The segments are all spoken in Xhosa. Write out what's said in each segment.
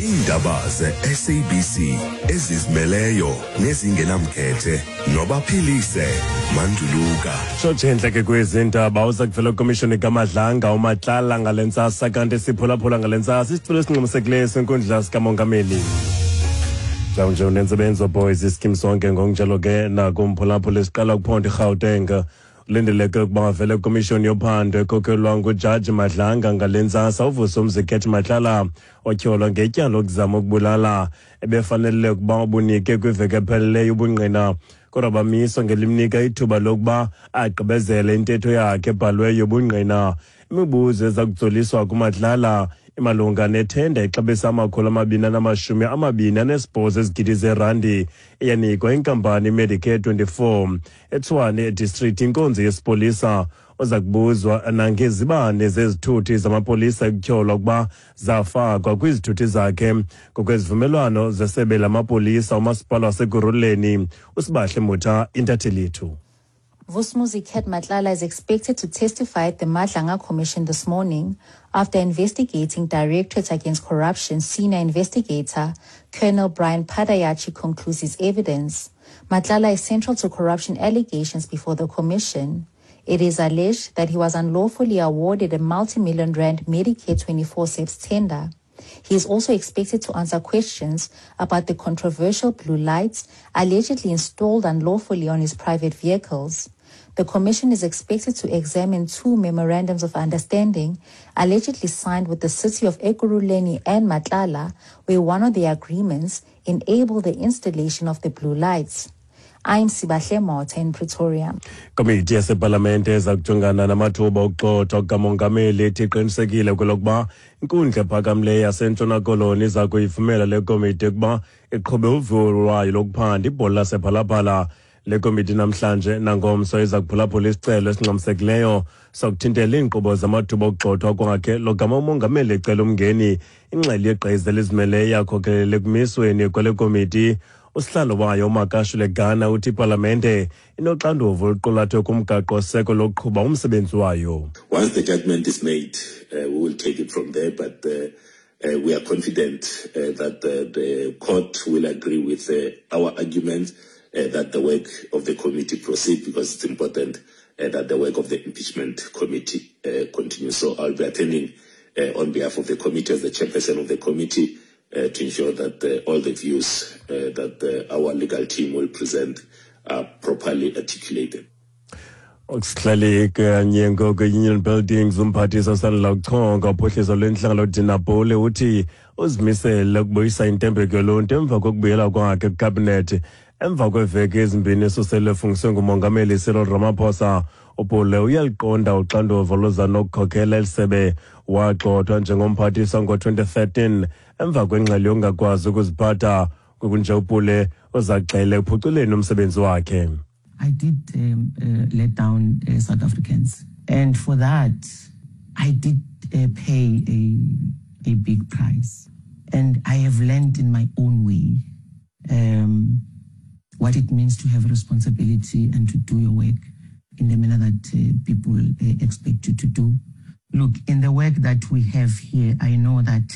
Iindaba ze-SABC ezizimeleyo nezingenamkhethe nobaphilise Manduluka. Tshotshentle ke kwezi ndaba uza kuvela kwimishoni kaMadlanga uMatlala ngale ntsasa kanti siphulaphula ngale ntsasa isicelo esingxamisekileyo senkundla sikamongameli. Njawunje unentsebenzo boys iskim sonke ngokunjalo ke nakumphulaphula esiqala kuphondo iGauteng. Ulindeleke ukuba avele kwimishoni yophando ekhokelwa ngujaji Madlanga ngale ntsasa uVusumzi Cat Matlala otyholwa ngetyala lokuzama ukubulala ebefanele ukuba ubunike kwiveki epheleleyo ubungqina kodwa bamiswa ngelimnika ithuba lokuba agqibezele intetho yakhe ebhalweyo yobungqina. Imibuzo eza kutsoliswa kuMatlala imalunga nethenda exabisa 228 ezigidi zeerandi eyanikwa inkampani iMedicare 24 eTshwane edistrict inkonzo yesipolisa. Uza kubuzwa nangezibane zezithuthi zamapolisa ekutyholwa ukuba zafakwa kwizithuthi zakhe ngokwezivumelwano zesebe lamapolisa umasipala waseKurhuleni. USibahle Mutha, intatheli yethu. Vusumuzi Cat Matlala is expected to testify at the Madlanga Commission this morning after investigating Directorate Against Corruption senior investigator Colonel Brian Padayachi concludes his evidence. Matlala is central to corruption allegations before the commission. It is alleged that he was unlawfully awarded a multi-million rand Medicare 24 SEPS tender. He is also expected to answer questions about the controversial blue lights allegedly installed unlawfully on his private vehicles. The commission is expected to examine 2 memorandums of understanding allegedly signed with the city of Ekurhuleni and Matlala, where one of the agreements enabled the installation of the blue lights. I'm Sibahle Motha in Pretoria. Komiti yasepalamente eza kujongana namathuba okugxothwa kukamongameli ithi iqinisekile kwelokuba inkundla ephakamileyo yaseNtshona Koloni iza kuyivumela le komiti ukuba iqhube uviwo lwayo lokuphanda ibhola lasephalaphala. Le komiti namhlanje nangomso iza kuphulaphula isicelo esingxamisekileyo sokuthintela iinkqubo zamathuba okugxothwa kwakhe logama umongameli ecela umngeni. Ingxelo yegqiza elizimeleyo yakhokelela ekumisweni kwale komiti. Usihlalo wayo uMakashule Gana uthi ipalamente inoxanduva oluqulathwe kumgaqo-seko lokuqhuba umsebenzi wayo. Once the judgment is made, we will take it from there, but we are confident that the court will agree with our argument that the work of the committee proceed, because it's important that the work of the impeachment committee continues. So I'll be attending on behalf of the committee as the chairperson of the committee to ensure that all the views that our legal team will present are properly articulated. Okusihlale kanye ngoku Union Buildings umphathiswa osandula kuchonga uphuhliso lwentlangano uDina Pule uthi uzimisele ukubuyisa intembeko yoluntu emva kokubuyela kwakhe kwikhabhinethi emva kweeveki ezimbini esusele efungiswe ngumongameli Cyril Ramaphosa. uPule uyaliqonda uxanduva oluza nokukhokela eli sebe. Wagxothwa njengomphathiswa ngo-2013 emva kwengxelo yokungakwazi ukuziphatha. Kunje uPule uzagxele ekuphuculeni umsebenzi wakhe. I did let down South Africans, and for that I did pay a big price, and I have learned in my own way what it means to have responsibility and to do your work in the manner that people expect you to do. Look, in the work that we have here, I know that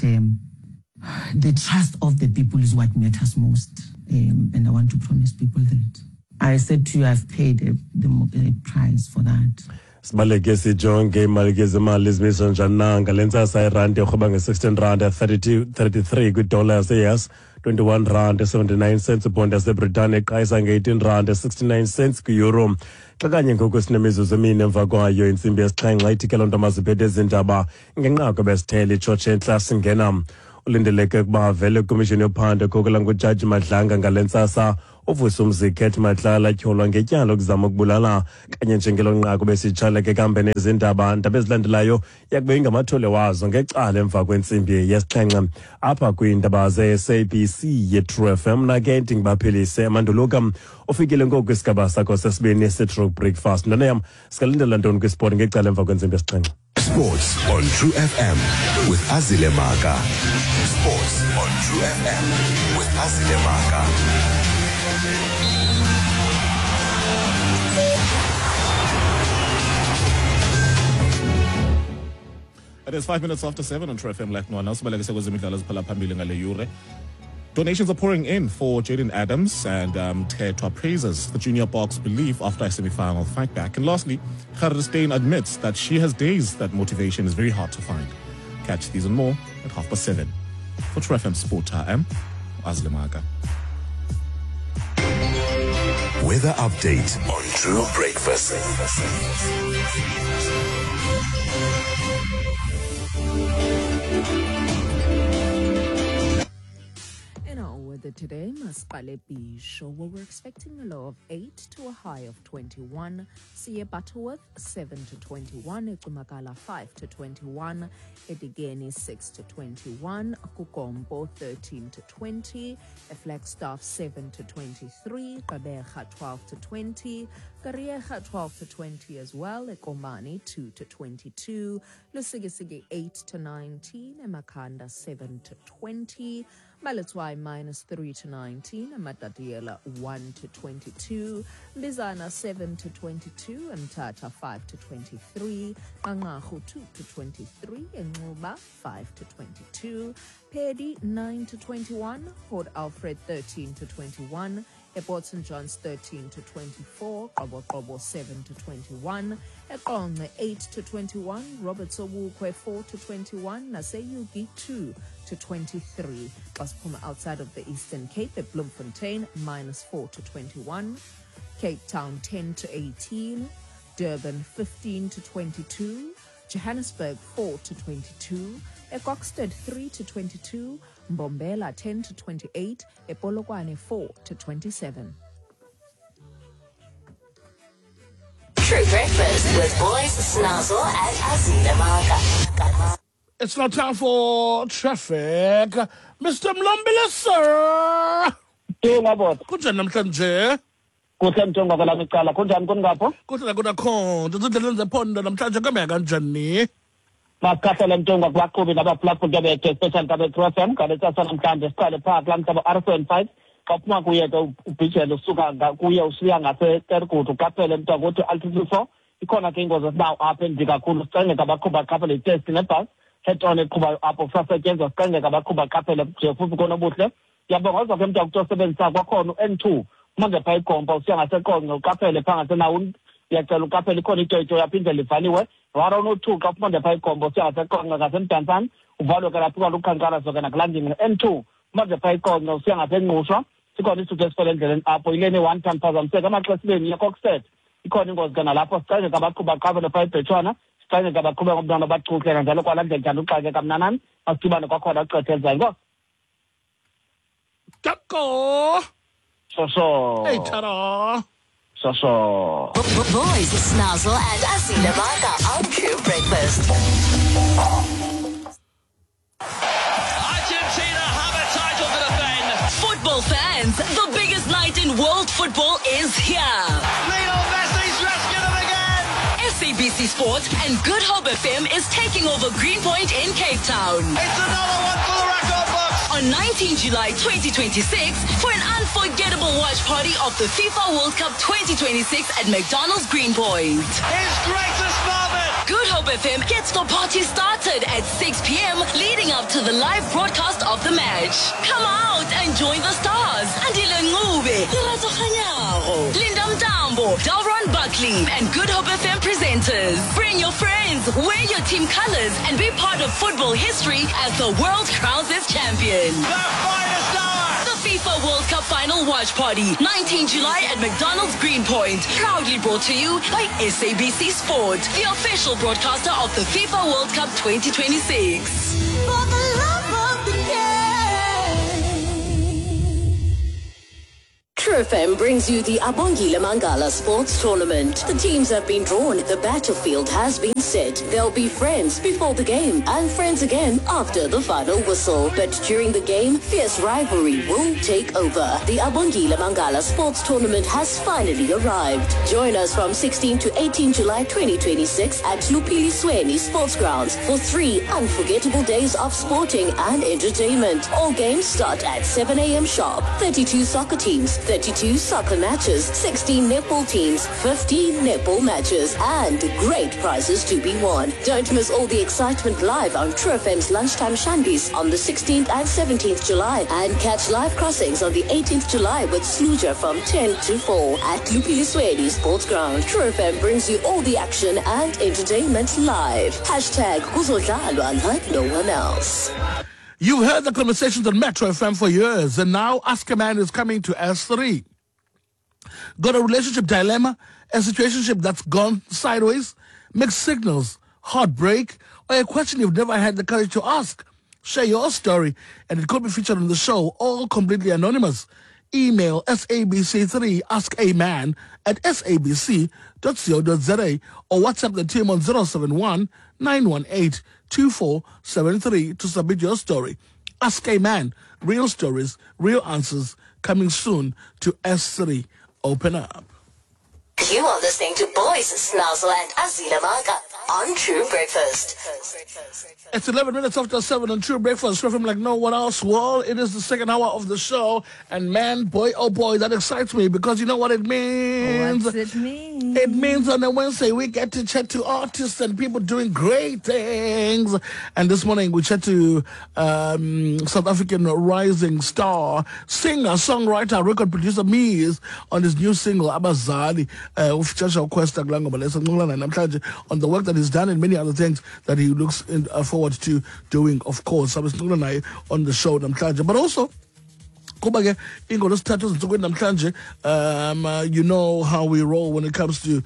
the trust of the people is what matters most, and I want to promise people that. I said to you, I've paid the price for that. Sibaleke sijonge imali ke zemali zimiswa njani na ngale ntsasa. Irandi irhweba nge-16 rand 33 kwidola yase-US, 21 rand 79 cents ibhondi yaseBritane, iqayisa nge-18 rand 69 cents kwi-euro. Xa kanye ngoku sinemizuzu emine emva kwayo intsimbi yesixhenxe, ithi ke loo nto maziphethe ezindaba ngenqaku besithele itshotshe entla singena. Ulindeleke ukuba avele kwimishini yophando ekhokela ngujaji Madlanga ngale ntsasa uVusumzi Cat Matlala tyholwa ngetyala lokuzama ukubulala. Kanye njengelo nqaku besitshaleke kambe nezindaba ndaba ezilandelayo yakube ingamathole wazo ngecala emva kwentsimbi yesixhenxe apha kwiindaba ze-SABC ye-True FM. Nake ndingibaphilise Manduluka ufikile ngoku kwisigaba sakho sesibini se-True Breakfast. Ntwana yam, sikalindela ntoni kwisport ngecala emva kwentsimbi yesixhenxe? Sports on True FM with Azile Maka. Sports on True FM with Azile Maka. It is 7:05 on True FM Left Nwana. Sibalekise kwezemidlalo ziphala phambili ngale yure. Donations are pouring in for Jayden Adams, and Mthethwa praises the junior box belief after a semi-final fight back. And lastly, Gerda Steyn admits that she has days that motivation is very hard to find. Catch these and more at 7:30. For True FM Sport, I am Azile Maka. Weather update on True Breakfast. In our weather today, Masipale Bisho, where we're expecting a low of 8 to a high of 21. Siye Butterworth, 7 to 21. Ecumakala, 5 to 21. Edigeni, 6 to 21. Kukompo, 13 to 20. Flagstaff, 7 to 23. Gqeberha, 12 to 20. Kariega, 12 to 20 as well. Ekomani, 2 to 22. Lusikisiki, 8 to 19. Emakanda, 7 to 20. Maletswai, -3 to 19. Matatiele, 1 to 22. Mbizana, 7 to 22. Mthatha, 5 to 23. Nqanqarhu, 2 to 23. Nxuba, 5 to 22. Peddie, 9 to 21. Port Alfred, 13 to 21. Port St. John's, 13 to 24. Qoboqobo, 7 to 21. Eqonce, 8 to 21. Robert Sobukwe, 4 to 21. Naseyugi, 2 to 23. Xa siphuma outside of the Eastern Cape at Bloemfontein, -4 to 21. Cape Town, 10 to 18. Durban, 15 to 22. Johannesburg, 4 to 22. Ekokstad, 3 to 22. Mbombela, 10 to 28. Epolokwane, 4 to 27. True Breakfast with Boys, Snazzle and Azile Maka. It's now time for traffic. Mr. Mlombile, sir. Kunjani namhlanje? Kuhle mthongo kwelami icala. Kunjani kuningapho? Kuhle kunakhona. Ezindleleni zephondo namhlanje kuhamba kanjani? Masikhahlele mthongo kubaqhubi nabaphulaphuli bethu, especially kabe True FM ngale ntsasa namhlanje. Siqale phaa kulaa mhlaba R75. Xa uphuma kuye ke ubhijele usuka kuye usiya ngaseTergut, uqaphele mthongo uthi altitude 4. Ikhona ke ingozi esinawo apha embi kakhulu. Sicengeka abaqhubi baqaphele iteksi nebhasi head on eqhubayo apho kusasetyenzwa. Sicengeka abaqhubi baqaphele nje futhi konobuhle. Ndiyabongoza ke mntu osebenzisa kwakhona u-N2 manje phaa iGompo usiya ngaseQonce, uqaphele phaa ngaseNawuni. Ndiyacela uqaphele, ikhona itoyitoyi apha indlela ivaliwe. 102 xa uphuma nje phaa iGompo usiya ngaseQonce ngaseMdantsane, uvalwe ke lapho kwaluqhankqalazo ke nakulaa ngingqi. N2 manje phaa iQonce usiya ngaseNgqushwa, sikhona isithuthi esifele endleleni apho ileni 1 ton phazamiseka amaxesibeni yeKokstad. Ikhona ingozi ke nalapho. Sicengeka abaqhubi baqaphele phaa eBhetshwana. Sicengeka abaqhubi ngomntwana bachuhle kanjalo kwalaa ndlela njani uxakeka mnanani. Masidibane kwakhona uxethe elizayo. Enkosi. Tako. Shosho. Hey, ta-da. Shosho. Boys, Snazzle and Azile Maka on True Breakfast. Argentina have a title to defend. Football fans, the biggest night in world football is here. Lionel Messi's rescued them again. SABC Sport and Good Hope FM is taking over Greenpoint in Cape Town. It's another one for the record books. On 19 July 2026 for an unforgettable watch party of the FIFA World Cup 2026 at McDonald's Greenpoint. His greatest moment. Good Hope FM gets the party started at 6 p.m. leading up to the live broadcast of the match. Come out and join the stars. Andile Ncube, Lerato Kganyago, Linda Mtambo, Dalron Buckley, and Good Hope FM presenters. Bring your friends, wear your team colors, and be part of football history as the world crowns its champion. The finest hour. The FIFA World Cup Final Watch Party, 19 July at McDonald's Greenpoint. Proudly brought to you by SABC Sport, the official broadcaster of the FIFA World Cup 2026. For the love of the game. True FM brings you the Abongile Mangala Sports Tournament. The teams have been drawn, the battlefield has been set. They'll be friends before the game and friends again after the final whistle. But during the game, fierce rivalry will take over. The Abongile Mangala Sports Tournament has finally arrived. Join us from 16 to 18 July 2026 at Lupili Sweni Sports Grounds for 3 unforgettable days of sporting and entertainment. All games start at 7 a.m. sharp. 32 soccer teams, 32 32 soccer matches, 16 netball teams, 15 netball matches, and great prizes to be won. Don't miss all the excitement live on True FM's Lunchtime Shandies on the 16th and 17th July, and catch live crossings on the 18th July with Sluja from 10 to 4 at Lupiliswedi Sports Ground. True FM brings you all the action and entertainment live. Hashtag Kuzodlalwa like no one else. You've heard the conversations on Metro FM for years, and now Ask a Man is coming to S3. Got a relationship dilemma, a situationship that's gone sideways, mixed signals, heartbreak, or a question you've never had the courage to ask? Share your story, and it could be featured on the show, all completely anonymous. Email sabc3askaman at sabc.co.za or WhatsApp the team on 071 918 2473 to submit your story. Ask a Man, real stories, real answers, coming soon to S3. Open up. You are listening to Boys Snazzle and Azila Maka on True Breakfast. It's 11 minutes after 7 on True Breakfast. From like no one else. Well, it is the second hour of the show. And man, boy, oh boy, that excites me because you know what it means? What's it mean? It means on a Wednesday we get to chat to artists and people doing great things. And this morning we chat to South African rising star, singer, songwriter, record producer Miz on his new single, Abazali. On the work that he's done and many other things that he looks forward to doing, of course. On the show namhlanje, but also kuba ke ingolosithathu ezinsukwini namhlanje, you know how we roll when it comes to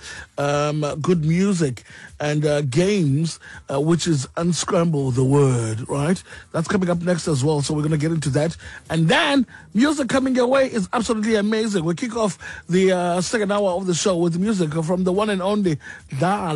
good music and games, which is Unscramble the Word, right? That's coming up next as well, so we're going to get into that. And then music coming your way is absolutely amazing. We kick off the second hour of the show with music from the one and only Dala.